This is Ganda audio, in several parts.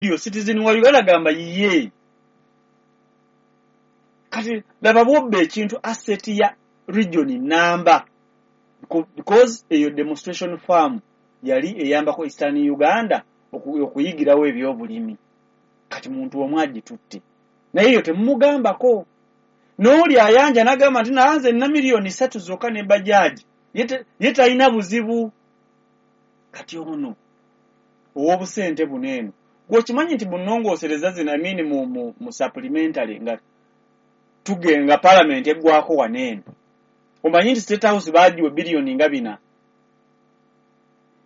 Radio citizen wa Uganda gamba ye. Kati laba bwobba ekintu, asset ya region namba, because eyo demonstration farm yali eyambako Eastern Uganda okuyigirawo ebyobulimi. Kati muntu omu agitutte, naye eyo temumugambako. N'oli ayanja n'agamba nti nanze nina 3 miliyoni zokka ne bajaji, ye talina buzibu. Kati ono ow'obusente buno eno, gweokimanyi nti bunongoosereza zino, I mean mu supplementary nga tugenga parliament eggwako waneeno, omanyi nti State House baagiwa biliyoni nga 4.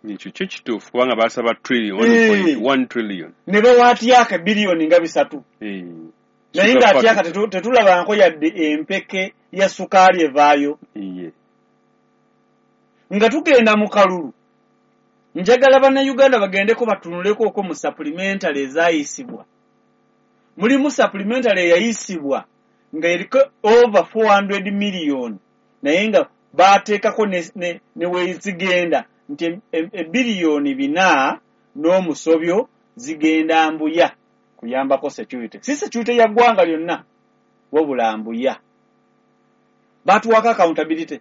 Ekyo kyo kituufu, kubanga basaba trillion, 1 trillion. Ne bawa Atyaka biliyoni nga 3. Naye nga Atyaka tetulabanko yadde empeke ya sukaali evaayo. Nga tugenda mu kalulu, njagala Bannayuganda bagendeko batunuleko okwo mu supplementary ezaayisibwa. Mulimu supplementary eyayisibwa nga eriko over 400 million, naye nga baateekako ne wezigenda nti ebiliyoni 4 n'omusobyo zigenda Mbuya kuyambako security, si security ya ggwanga lyonna, wabula Mbuya. Batuwako accountability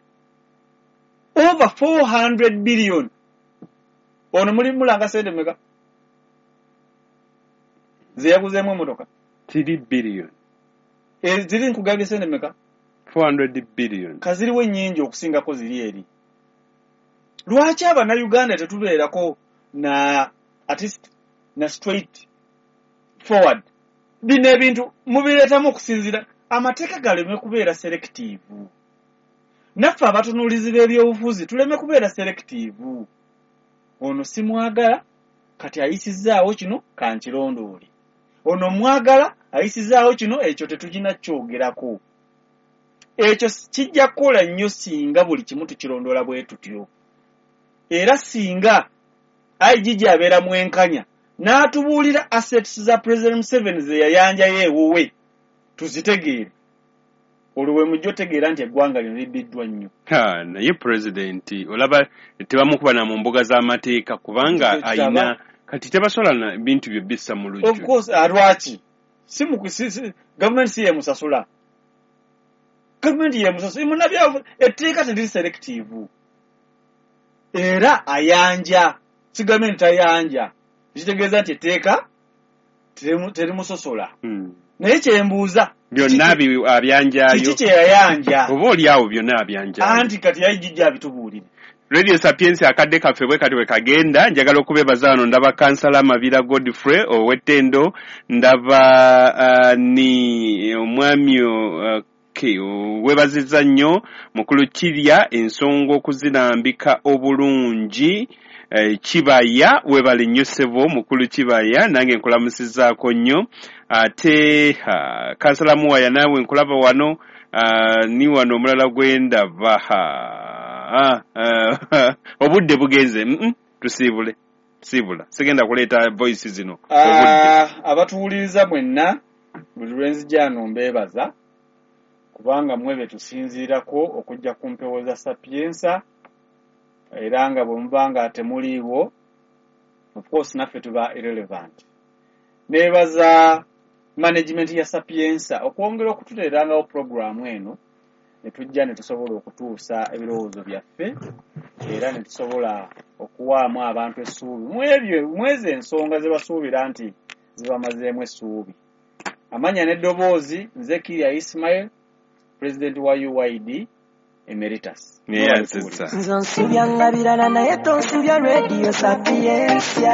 over 400 billion. Ono muli mulanga sente meka zeyaguzeemu emotoka? 3 billion. Ziri nkugambye sente meka? 400 billion. Kaziriwo ennyingi okusingako ziri eri. Lwaki Abannayuganda tetubeerako na at least na straight forward? Bino ebintu mubireetamu okusinziira amateeka galeme kubeera selective, naffe abatunuulizi b'ebyobufuzi tuleme kubeera selective. Ono simwagala, kati ayisizaawo kino, kankirondoole. Ono mwagala, ayisizaawo kino, ekyo tetugina kyogerako. Ekyo kijja kukola nnyo singa buli kimu tukirondoola bwe tutyo, era singa IGG abeera mwenkanya n'atubuulira assets za President Museveni ze yayanjayo ewuwe tuzitegeere, olwo we mujja otegeera nti eggwanga lino libbiddwa nnyo. Naye pulezidenti olaba tebamukuba na mu mbuga z'amateeka, kubanga ayina kati tebasobola na bintu bye bissa mu lujjo. Of course, lwaki si gavumenti si yemusasula? Gavumenti yemusasula. Munabyavu, etteeka teriri selective, era ayanja si gavumenti tayanja, kitegeeza nti etteeka terimusosola. Naye kyembuuza, byonna abyanjayo. Kiki kyeyayanja? Oba oli awo byonna abyanjayo. Anti kati yayijijja abitubuulire. Radio Sapientia, akadde kaffe bwe kati bwe kagenda. Njagala okubeebaza wano. Ndaba Kansala Mabira Godfrey ow'ettendo, ndaba ni omwami okay, weebazizza nnyo mukulu Kirya ensonga okuzirambika obulungi. Kibaya, webale nnyo ssebo mukulu Kibaya, nange nkulamusizaako nnyo. Ate Kansala Muwaya, naawe nkulaba wano. Ni wano omulala gwendaba. Obudde bugenze. Tusiibule, siibula, sigenda kuleeta voice zino. Abatuwuliriza mwenna, buli lwenzijano mbeebaza, kubanga mwe be tusinziirako okujja ku mpewo za Sapientia, era nga bwe muba nga temuliiwo, of course naffe tuba irrelevant. Neebaza management ya Sapientia okwongera okututeerangawo programu eno ne tujja ne tusobola okutuusa ebirowoozo byaffe, era ne tusobola okuwaamu abantu essuubi mwebyo mwezo ensonga ze basuubira nti zibamazeemu essuubi. Amanya n'eddoboozi, nze Kiria Ismail, president wa UYD emeritus. Nze onsubya birala, naye tonsubya Radio Sapientia.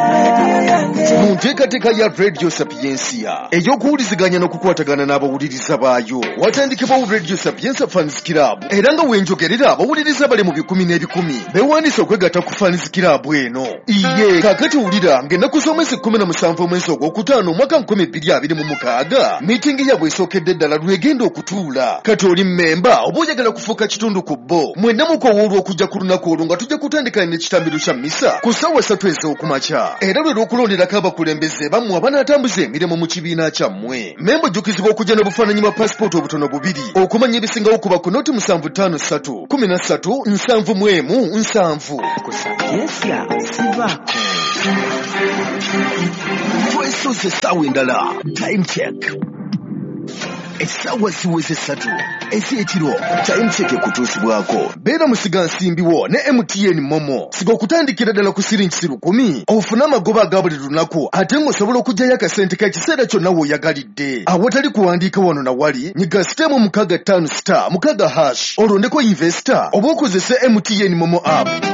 Mu nteekateeka ya Radio Sapientia ey'okuwuliziganya n'okukwatagana n'abawuliriza baayo, watandikibwawo Radio Sapientia Fans Club, era nga wenjogerera abawuliriza bali mu bikumi n'ebikumi beewandiisa okwegatta ku Fans Club eno. Iye kaakati wulira ng'ennaku z'omwezi 17 omwezi ogwokutaano omwaka 2026 miitingi yaabwe esookedde ddala lwegenda okutuula. Kati oli mmemba oba oyagala kufuuka kitundu ku bo, mwenna mukowoolwa okujja ku lunaku olwo, nga tujja kutandika n'ekitambiro kya misa ku ssaawa 3 ez'okumakya, era lwe lw'okulonderako abakulembeze bammwe abanaatambuza emirimu mu kibiina kyammwe. Memba ojjukizibwa okujja n'obufaananyi bwa pasipooti obutono bubiri. Okumanya ebisingawo kuba ku 0 753 13 71 7. Ku Sapientia sivaako. Twesoose essaawa endala. Time check. Essaawa ziweze 3 ez'ekiro. Time check ekutuusibwako. Beera musigansimbi wo ne MTN Momo. Siga okutandikira ddala ku siringi 1,000 ofune amagoba aga buli lunaku ate ng'osobola okuggyayo akasente k'ekiseera kyonna w'oyagalidde. Awatali kuwandiika wano na wali, nyiga *656*6# olondeko investor oba okozese MTN Momo app.